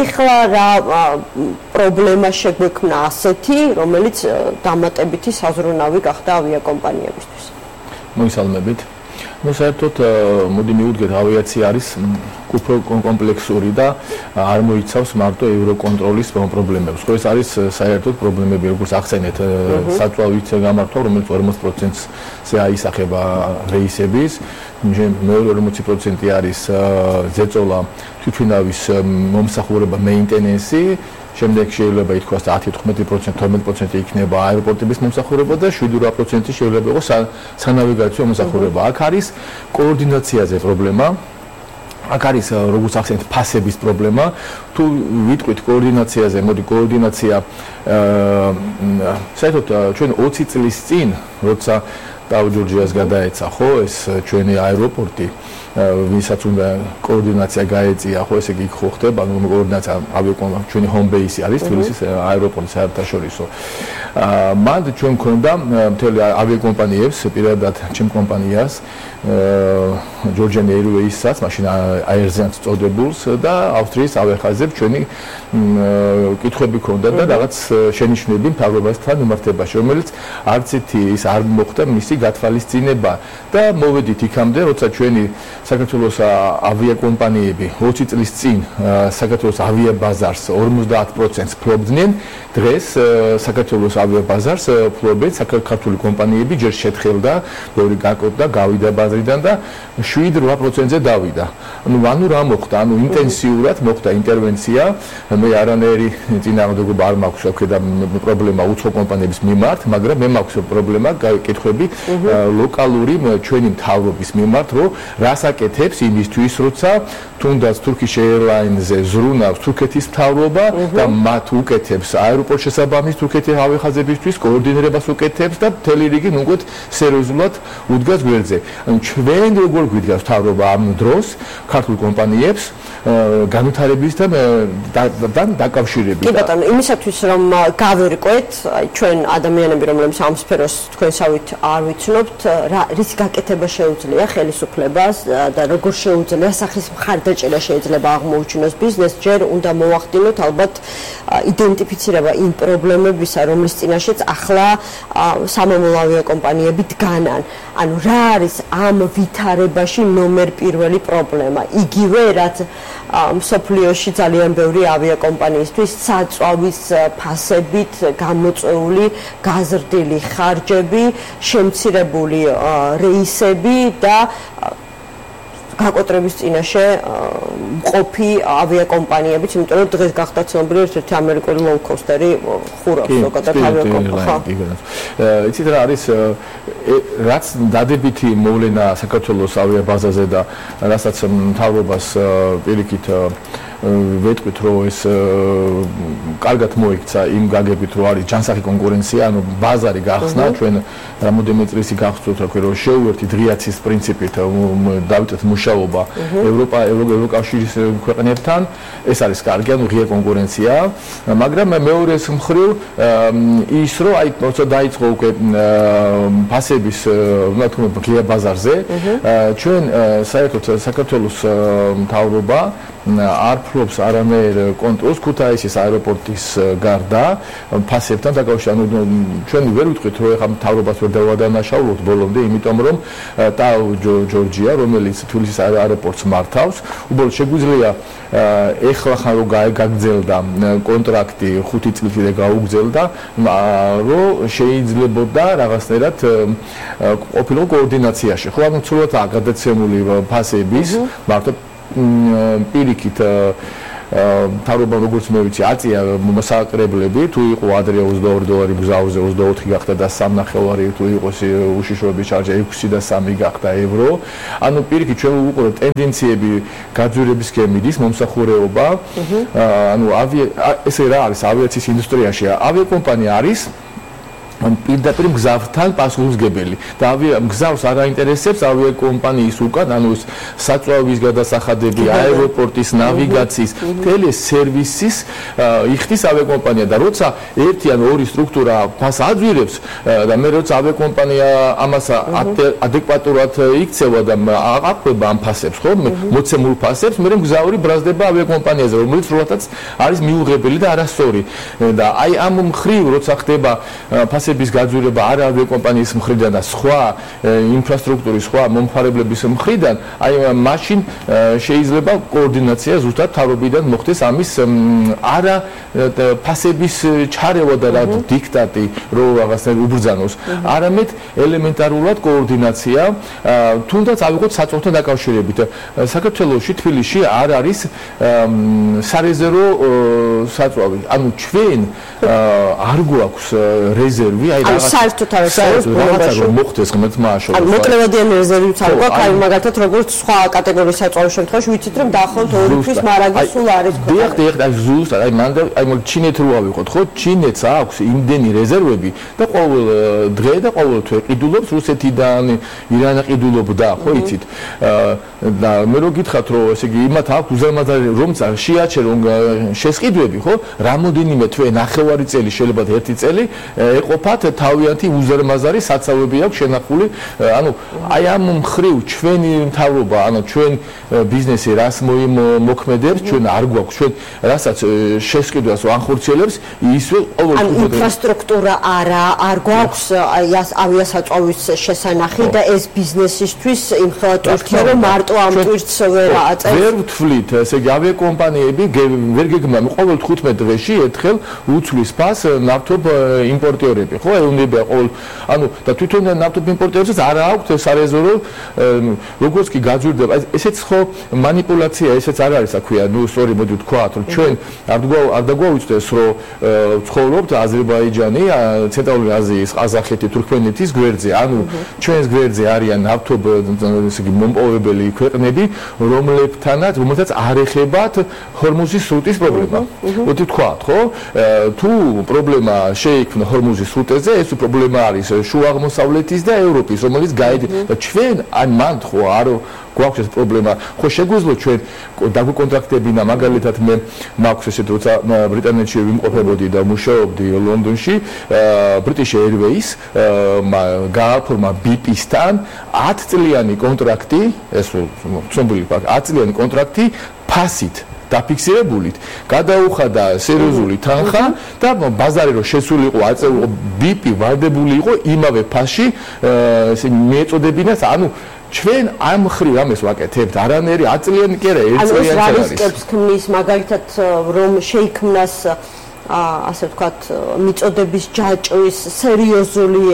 ეხლა რა პრობლემა შეგვექმნა ასეთი, რომელიც დამატებითი საზრუნავი გახდა ავიაკომპანიებისთვის. მოგესალმებით. Ну, საერთოდ მოდი მივუდგეთ, ავიაცია არის უფრო კომპლექსური და არ მოიცავს მარტო ევროკონტროლის პრობლემებს. ხო, ეს არის საერთოდ პრობლემები, როგორც ახსენეთ, საწვავით გამართვა, რომელიც ორმოცი პროცენტზე აისახება რეისების, მეორე ორმოცი პროცენტი არის ზეწოლა, თვითმფრინავის მომსახურება, მეინტენენსი, შემდეგ შეიძლება ითქვას ათი თერთმეტი პროცენტი თორმეტი პროცენტი იქნება აეროპორტების მომსახურება და შვიდი რვა პროცენტი შეიძლება იყოს სანავიგაციო მომსახურება. აქ არის კოორდინაციაზე პრობლემა. აქ არის როგორც ახსენეთ ფასების პრობლემა. თუ ვიტყვით კოორდინაციაზე, მოდი კოორდინაცია საერთოდ ჩვენ ოცი წლის წინ, როცა Hub Georgias გადაეცა, ხო, ეს ჩვენი აეროპორტი ვისაც უნდა კოორდინაცია გაეწია, ხო, ესე იგი ხო ხდება, ანუ კოორდინაცია ავიაკომპანია ჩვენი home base არის თბილისის აეროპორტი საერთაშორისო. აა მანდ ჩვენ მქონდა მთელი ავიაკომპანიებს, პირადად ჩემ კომპანიას, Georgian Airways-საც, მაშინ აერზიანს წოდებულს და ავსტრიის ავიახაზებს ჩვენი კითხვები ქონდა და რაღაც შენიშვნები მთავრობასთან მიმართებაში, რომელიც არც ერთი ის არ მოხდა მისი გათვალისწინება და მოვედით იქამდე, როცა ჩვენი საქართველოს ავიაკომპანიები ოცი წლის წინ საქართველოს ავიაბაზარს ორმოცდაათ პროცენტს ფლობდნენ, დღეს საქართველოს ავიაბაზარს ფლობენ საქართველოს კომპანიები, ჯერ შეთხელდა, ბევრი გაკეთდა, გავიდა ბაზრიდან და შვიდ რვა პროცენტზე დავიდა. ანუ ანუ რა მოხდა? ანუ ინტენსიურად მოხდა ინტერვენცია, მე არანაირი წინააღმდეგობა არ მაქვს აქედა პრობლემა უცხო კომპანიების მიმართ, მაგრამ მე მაქვს პრობლემა კითხვები ლოკალური ჩვენი მთავრობის მიმართ, რომ რას აკეთებს იმისთვის, როცა თუნდაც Turkish Airlines-ზე ზრუნავს თურქეთის მთავრობა და მათ უკეთებს აეროპორტ შესაბამის თურქეთის ავიახაზებისთვის კოორდინირებას უკეთებს და მთელი რიგი ნუგოთ სერიოზულად უდგას გვერდზე. ანუ ჩვენ როგორ გვიდგას მთავრობა ამ დროს ქართულ კომპანიებს განვითარებისთან დაკავშირებით. კი ბატონო, იმისათვის რომ გავერკვეთ, აი ჩვენ ადამიანები, რომლებიც ამ სფეროს თქვენსავით არ ვიცნობთ, რის გაკეთება შეუძლია ხელისუფლებას და როგორ შეუძლია სახის მხარდაჭერა შეიძლება აღმოუჩინოს ბიზნესს, ჯერ უნდა მოვახდინოთ ალბათ იდენტიფიცირება იმ პრობლემებისა, რომლის წინაშეც ახლა სამამულო ავიაკომპანიები დგანან. ანუ რა არის ამ ვითარებაში ნომერ პირველი პრობლემა? იგივე რაც მსოფლიოში ძალიან ბევრი ავიაკომპანიისთვის საწვავის ფასებით გამოწვეული გაზრდილი ხარჯები, შემცირებული რეისები და გაკოტრების წინაშე მყოფი ავიაკომპანიებიც, იმიტომ რომ დღეს გახდა ცნობილი ერთ-ერთი ამერიკული low-coaster-ი ხურავს ზოგადად ავიაკომპანიას. იცით რა არის რაც დადებითი მოვლენა საქართველოს ავიაბაზაზე და რასაც მთავრობას პირიქით ვეტყვით, რომ ეს კარგად მოიქცა იმ გაგებით, რომ არის ჯანსაღი კონკურენცია, ანუ ბაზარი გახსნა, ჩვენ რამოდენიმე წლისი გახსოვთ, რომ შეუერთი დრიაცის პრინციპით დავიწყეთ მუშაობა ევროპა ევროკავშირის ქვეყნებთან, ეს არის კარგი, ანუ ღია კონკურენცია, მაგრამ მეორეს მხრივ ის რომ აი როცა დაიწყო უკვე ფასების უნდა თქვა ღია ბაზარზე, ჩვენ საერთოდ საქართველოს მთავრობა არ ფლობს არანაირ კონტროლს ქუთაისის აეროპორტის გარდა ფასებთან დაკავშირებით. ანუ ჩვენ ვერ ვიტყვით რომ ეხლა მთავრობას ვერ დავადანაშაულოთ ბოლომდე, იმიტომ რომ ტაო ჯორჯია, რომელიც თბილისის აეროპორტს მართავს, უბრალოდ შეგვიძლია ეხლა ხან რომ გაგრძელდა კონტრაქტი ხუთი წლით და გაუგრძელდა, რომ შეიძლებოდა რაღაცნაირად ყოფილიყო კოორდინაციაში. ხო, ანუ ცუდად გადაცემული ფასების მართლა პირიქით თავრობა როგორც მე ვიცი აწია მოსაკრებლები თუ იყო ადრე ოცდაორი დოლარი გზავზე ოცდაოთხი გახდა და სამნახევარი თუ იყოს უშიშროების ჩარჯი ექვსი და სამი გახდა ევრო. ანუ პირიქით ჩვენ ვუყურებთ ტენდენციები გაძვირების გემიდის მომსახურეობა. ანუ ავია ესე რა არის ავიაციის ინდუსტრიაში ავიაკომპანია არის პირდაპირ მგზავრთან პასუხისმგებელი და მგზავრს არ აინტერესებს ავიაკომპანიის უკან, ანუ საწვავის გადასახადები, აეროპორტის ნავიგაციის, მთელი სერვისის იხდის ავიაკომპანია და როცა ერთი ან ორი სტრუქტურა ფას აძვირებს და მე როცა ავიაკომპანია ამას ადეკვატურად იქცევა და აყრება ამ ფასებს, ხო, მოცემულ ფასებს, მე მგზავრი ბრაზდება ავიაკომპანიაზე, რომელიც როდესაც არის მიუღებელი და არასწორი და აი ამ მხრივ როცა ხდება ფასები bis გაძვირება არა ავიაკომპანიის მხრიდან და სხვა ინფრასტრუქტურის სხვა მომხმარებლების მხრიდან, აი მაშინ შეიძლება კოორდინაცია ზუსტად თავრობიდან მოხდეს ამის არა ფასების ჩარევა და რა დიქტატი რო რაღაცნაირად უბრძანოს, არამედ ელემენტარულად კოორდინაცია, თუნდაც ავიღოთ საწოლთან დაკავშირებით. საქართველოში თბილისში არ არის სარეზერვო საწვავი. ანუ ჩვენ არ გვაქვს რეზერვი აი რაღაც საერთოდ არ რაღაცა რომ მოხდეს ღმერთმა აშოროს. ანუ მოკლევადიანი რეზერვიც არ გვაქვს, აი მაგალითად როგორც სხვა კატეგორიის საწვავის შემთხვევაში ვიცით რომ დაახლოებით ორი თვის მარაგი სულ არის ხო. დიახ, დიახ, აი ზუსტად, აი მანდ აი ჩინეთ რო ავიღოთ, ხო? ჩინეთს აქვს იმდენი რეზერვები და ყოველ დღე და ყოველ თვე ყიდულობს რუსეთიდან, ირანი ყიდულობდა, ხო იცით? და მე რო გითხრათ რომ ესე იგი იმათ აქვს უზარმაზარი რომ შეაჩერონ შესყიდვები, ხო? რამოდენიმე თვე ნახევარი წელი შეიძლება ერთი წელი ეყოფათ თავიანთი უზარმაზარი საცავები აქვს შენახული. ანუ აი ამ მხრივ ჩვენი მთავრობა, ანუ ჩვენ ბიზნესი რას მოქმედებს, ჩვენ არ გვაქვს, ჩვენ რასაც შესყიდვას ვანხორციელებს, ისე ყოველ ანუ ინფრასტრუქტურა არა, არ გვაქვს აი ავიასაწვავის შესანახი და ეს ბიზნესისთვის იმხელა ტვირთია რომ მარტო ამ ტვირთს ვერ აწევს. ვერ ვთვლით, ესე იგი ავიაკომპანიები ვერ გეგმავენ ყოველ თხუთმეტ დღეში ერთხელ უცვლის ფას ნავთობ იმპორტიორები, ხო, ეუნებია ყოველ, ანუ და თვითონ ნავთობ იმპორტიორებს არ აქვს სარეზერვო, როგორც კი გაძვირდება, ესეც ხო манипуляция, ესეც არ არის, რა ქვია, ნუ სწორი მოდი ვთქვათ, რომ ჩვენ არ არ დაგვაუწყდეს, რომ ცხოვრობთ აზერბაიჯანი, ცენტრალური აზიის, ყაზახეთი, თურქმენეთის გვერდზე, ანუ ჩვენს გვერდზე არიან ნავთობ, ესე იგი მომპოვებელი ქვეყნები, რომლებთანაც, რომელთაც არ ეხებათ ჰორმუზის სრუტის პრობლემა. მოდი ვთქვათ, ხო? თუ პრობლემა შეიქმნა ჰორმუზის სრუტეზე, ეს პრობლემა არის შუა აღმოსავლეთის და ევროპის, რომელიც გაიძინა და ჩვენ აი მანდ ხო არ გვაქვს ეს პრობლემა. ხო შეგვიძლია ჩვენ დაგვიკონტრაქტებინა, მაგალითად მე მაქვს ესეთ როცა ბრიტანეთში ვიმყოფებოდი და მუშაობდი ლონდონში, British Airways გააფორმა ბი პი-სთან ათი წლიანი კონტრაქტი, ეს ცნობილი ფაქტია, ათი წლიანი კონტრაქტი ფასით დაფიქსირებულით, გადაუხადა სერიოზული თანხა და ბაზარი რო შესულიყო, აწეულიყო ბი პი ვარდებული იყო იმავე ფასში, ესე მიეწოდებინას, ანუ ჩვენ ამ ხრივ ამას ვაკეთებთ, არანაირი ათი წლიანი კი არა, ერთი წლიანი არის. ანუ რისკებს ქმნის მაგალითად რომ შეიქმნას ასე ვთქვათ, მიწოდების ჯაჭვის სერიოზული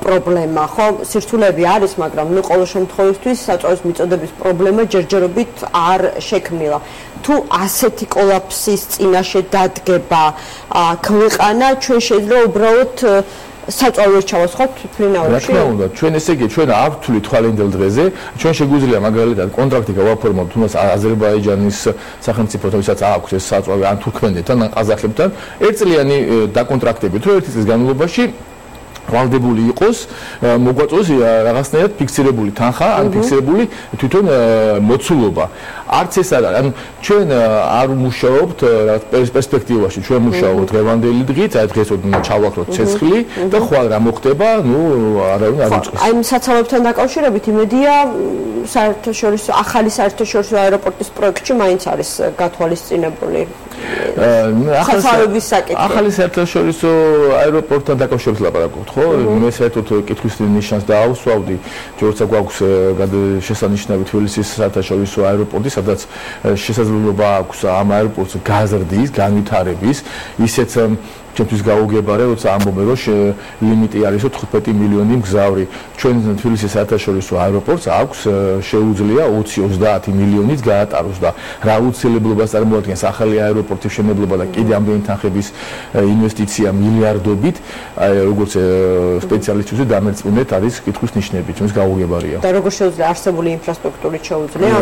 პრობლემა, ხო? სირთულეები არის, მაგრამ ნუ ყოველ შემთხვევაში საწვავის მიწოდების პრობლემა ჯერჯერობით არ შექმნილა. თუ ასეთი კოლაფსის წინაშე დადგება ქვეყანა, ჩვენ შეიძლება უბრალოდ საწვავი ჩავას ხო თვითმფრინავებში? რა თქმა უნდა, ჩვენ ესე იგი ჩვენ არ ვთვლით თვალინდელ დღეზე, ჩვენ შეგვიძლია მაგალითად კონტრაქტი გავაფორმოთ თუნდაც აზერბაიჯანის სახელმწიფოთან, ვისაც აქვს ეს საწვავი ან თურქმენეთთან, ან ყაზახებთან, ერთწლიანი დაკონტრაქტებით, რომ ერთი წლის განმავლობაში ვალდებული იყოს მოგვაწოს რაღაცნაირად ფიქსირებული თანხა ან ფიქსირებული თვითონ მოცულობა არც ეს არ არის ანუ ჩვენ არ მუშაობთ პერსპექტივაში ჩვენ მუშაობთ დღევანდელი დღით აი დღეს ჩავაქროთ ცეცხლი და ხვალ რა მოხდება ნუ არავინ არ უწყობს აი საცხოვრებთან დაკავშირებით იმედია საერთაშორისო ახალი საერთაშორისო აეროპორტის პროექტში მაინც არის გათვალისწინებული ახალი ახალი საერთაშორისო აეროპორტთან დაკავშირებით ლაპარაკობთ ხო მე საერთოდ კითხვის ნიშანს დაავსვავდი როცა გვაქვს შესანიშნავი თბილისის საერთაშორისო აეროპორტი სადაც შესაძლებლობა აქვს ამ აეროპორტს გაზრდის განვითარების ისეც ჩემთვის გაუგებარა როცა ამბობენ რომ ლიმიტი არის თხუთმეტი მილიონი მგზავრი ჩვენ თბილისის საერთაშორისო აეროპორტს აქვს შეუძლია ოცი ოცდაათი მილიონიც გაატაროს და რა უცილებლობას წარმოადგენს ახალი აეროპორტის მშენებლობა და კიდე ამდენი თანხების ინვესტიცია მილიარდობით როგორც სპეციალისტებზე დამერწმუნეთ არის კითხვის ნიშნები ჩვენს გაუგებარია და როგორ შეუძლია არსებული ინფრასტრუქტურით შეუძლია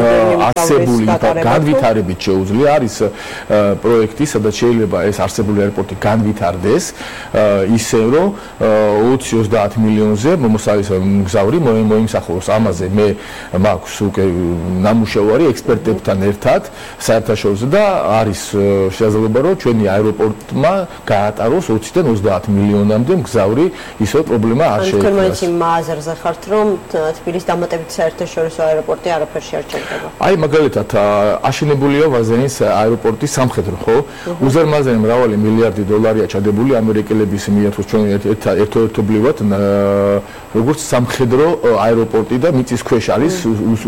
არსებული განვითარებით შეუძლია არის პროექტი სადაც შეიძლება ეს არსებული აეროპორტი განვითარდეს არდეს ისე რომ ოცი ოცდაათი მილიონზე მომსალის მგზავრი მოიმსახუროს ამაზე მე მაქვს უკვე ნამუშევარი ექსპერტებთან ერთად საერთაშორისო და არის შესაძლებლობა რომ ჩვენი აეროპორტმა გაატაროს ოციდან ოცდაათი მილიონამდე მგზავრი ისე პრობლემა არ შეექმნას თქვენ მაინც იმ აზრზე ხართ რომ თბილისის დამატებით საერთაშორისო აეროპორტი არაფერში არ ჩერდება აი მაგალითად აშენებულია ვაზენის აეროპორტი სამხედრო ხო უზარმაზარი მრავალი მილიარდი დოლარია ჩადებული ამერიკელების მიერ თუ ჩვენ ერთობლივად როგორც სამხედრო აეროპორტი და მიწის ქვეშ არის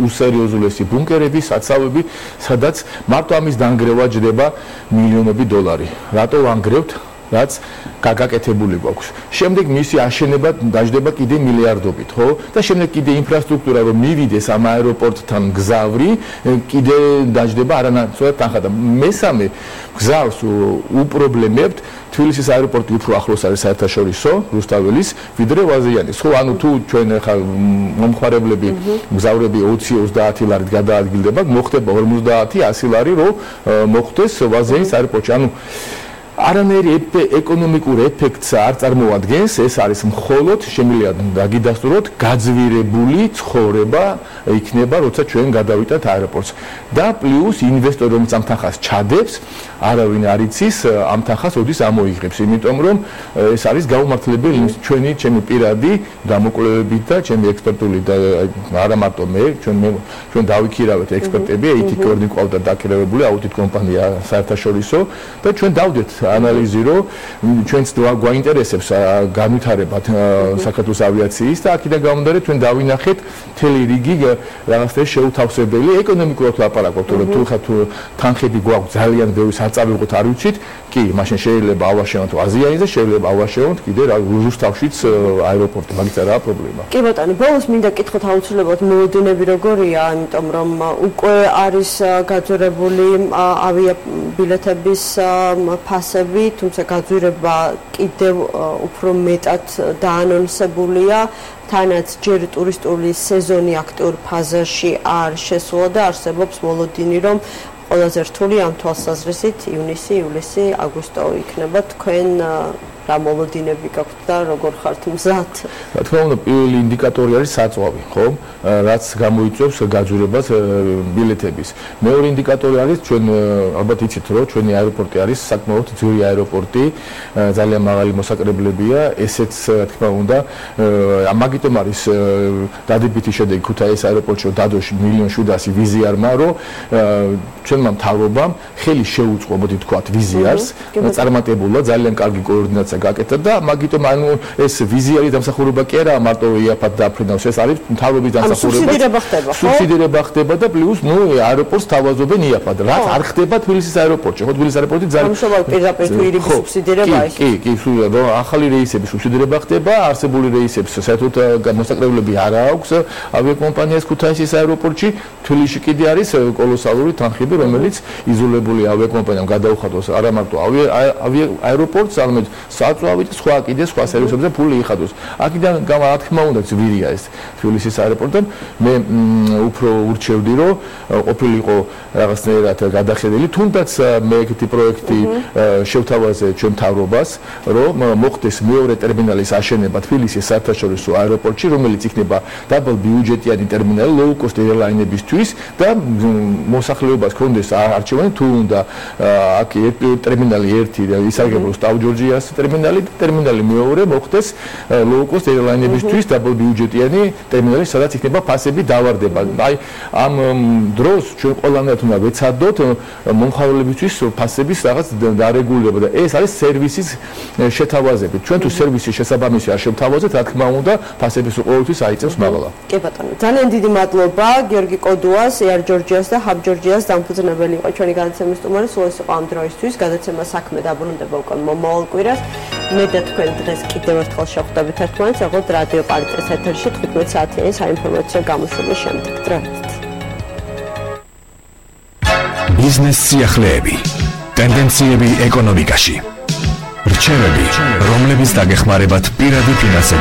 უსერიოზულესი ბუნკერები, საცავები, სადაც მარტო ამის დანგრევა ჯდება მილიონები დოლარი. რატო ვანგრევთ? რაც გაგაკეთებული გვაქვს. შემდეგ მისი აშენება დაждდება კიდე მილიარდობით, ხო? და შემდეგ კიდე ინფრასტრუქტურა რომ მივიდეს ამ აეროპორტთან გზავრი, კიდე დაждდება არანაცვლად თანხა და მესამე გზავს უპრობლემებთ თბილისის აეროპორტი უფრო ახლოს არის საერთაშორისო რუსთაველის ვიდრე ვაზიანის. ხო, ანუ თუ ჩვენ ხა მომხმარებლები გზავრები ოცი ოცდაათი ლარით გადაადგილდება, მოხდება ორმოცდაათი ასი ლარი რომ მოხდეს ვაზიანის აეროპორტში. ანუ არანაირი ეკონომიკურ ეფექტს არ წარმოადგენს, ეს არის მხოლოდ შემიძლია დაგიდასტუროთ გაძვირებული ცხოვრება იქნება, როცა ჩვენ გადავიტანთ აეროპორტს. და პლუს ინვესტორი რომელიც ამ თანხას ჩადებს, არავინ არ იცის ამ თანხას ოდის ამოიღებს, იმიტომ რომ ეს არის გაუმართლებელი ჩვენი ჩემი პირადი დამოკლებებით და ჩემი ექსპერტული და არა მარტო მე, ჩვენ ჩვენ დავიქირავეთ ექსპერტები, ეითი კორდი ყავდა დაქირავებული აუდიტ კომპანია საერთაშორისო და ჩვენ დავდეთ ანალიზი რომ ჩვენც გვაინტერესებს განვითარებათ საქართველოს ავიაციის და აქედან გამომდინარე ჩვენ დავინახეთ მთელი რიგი რაღაცა შეუთავსებელი ეკონომიკურად ლაპარაკობთ რომ თუ ხა თუ თანხები გვაქვს ძალიან ბევრი საწავიღოთ არ ვიცით კი მაშინ შეიძლება ავაშენოთ აზიანზე შეიძლება ავაშენოთ კიდე რუსთავშიც აეროპორტი მაგით არა პრობლემა კი ბატონო ბოლოს მინდა კითხოთ აუცილებლად მოლოდინები როგორია ამიტომ რომ უკვე არის გაძვირებული ავიაბილეთების ფასები თუმცა გაძვირება კიდევ უფრო მეტად დაანონსებულია თანაც ჯერ ტურისტული სეზონი აქტიურ ფაზაში არ შესულა და არსებობს მოლოდინი რომ ყველაზე რთული ამ თვალსაზრისით ივნისი, ივლისი, აგვისტო იქნება თქვენ რა მოლოდინები გაქვთ და როგორ ხართ მზად? რა თქმა უნდა, პირველი ინდიკატორი არის საწვავი, ხო? რაც გამოიწვევს გაძვირებას ბილეთების. მეორე ინდიკატორი არის ჩვენ ალბათ იცით, რომ ჩვენი აეროპორტი არის საკმაოდ ძვირი აეროპორტი, ძალიან მაღალი მოსაკრებლებია, ესეც რა თქმა უნდა, ამაგიტომ არის დადებითი შედეგი ქუთაისის აეროპორტში დადოს მილიონ შვიდასი ვიზიარმა, რომ ჩვენმა მთავრობამ ხელი შეუწყო, მოდი თქვათ, ვიზიარს, წარმატებულად ძალიან კარგი კოორდინაცია გაკეთდა და მაგიტომ ანუ ეს ვიზიარი დამსახურება კი არა მარტო იაფად დაფრინავს ეს არის მთავრობის დამსახურება სუბსიდირება ხდება ხო სუბსიდირება ხდება და პლუს ნუ აეროპორტს თავაზობენ იაფად რაც არ ხდება თბილისის აეროპორტში ხო თბილისის აეროპორტი ძალიან ამშობალ პირდაპირ თვირების სუბსიდირება ის კი კი კი რომ ახალი რეისების სუბსიდირება ხდება არსებული რეისებს საერთოდ მოსაკრებლები არ აქვს ავიაკომპანიას ქუთაისის აეროპორტში თბილისში კიდე არის კოლოსალური თანხები რომელიც იზოლებული ავიაკომპანიამ გადაუხადოს არა მარტო აეროპორტს არამედ საწვავი და სხვა კიდე სხვა სერვისებზე ფული იხადოს. აქედან რა თქმა უნდა ძვირია ეს თბილისის აეროპორტთან. მე უფრო ურჩევდი რომ ყოფილიყო რაღაცნაირად გადახედილი, თუნდაც მე ეგეთი პროექტი შევთავაზე ჩვენ მთავრობას, რომ მოხდეს მეორე ტერმინალის აშენება თბილისის საერთაშორისო აეროპორტში, რომელიც იქნება დაბალ ბიუჯეტიანი ტერმინალი low cost airline-ებისთვის და მოსახლეობას ქონდეს არჩევანი თუ უნდა აქ ტერმინალი ერთი ისარგებლოს ტაუ-ჯორჯიას ტერმინალი და ტერმინალი მეორე მოხდეს low cost airline-ებისთვის დაბალ ბიუჯეტიანი ტერმინალი, სადაც იქნება ფასები დავარდება. აი ამ დროს ჩვენ ყველანაირად უნდა ვეცადოთ მომხმარებლებისთვის ფასების რაღაც დარეგულირება და ეს არის სერვისის შეთავაზებით. ჩვენ თუ სერვისის შესაბამისი არ შევთავაზეთ, რა თქმა უნდა, ფასების ყოველთვის აიწევს მაღლა. კი ბატონო, ძალიან დიდი მადლობა გიორგი კოდუას, Air Georgias და Hub Georgias დამფუძნებელი იყო ჩვენი განაცემის სტუმარი. სულ ეს იყო ამ დროისთვის. გადაცემა საქმე დაბრუნდება უკვე მომავალ კვირას. მე და თქვენ დღეს კიდევ ერთხელ შევხვდებით ერთმანეთს, როგორც რადიო პარიტეტის ეთერში თხუთმეტ საათიანი საინფორმაციო გამოშვების შემდეგ. დროებით. ბიზნეს სიახლეები, ტენდენციები ეკონომიკაში, რჩევები, რომლებიც დაგეხმარებათ პირადი ფინანსების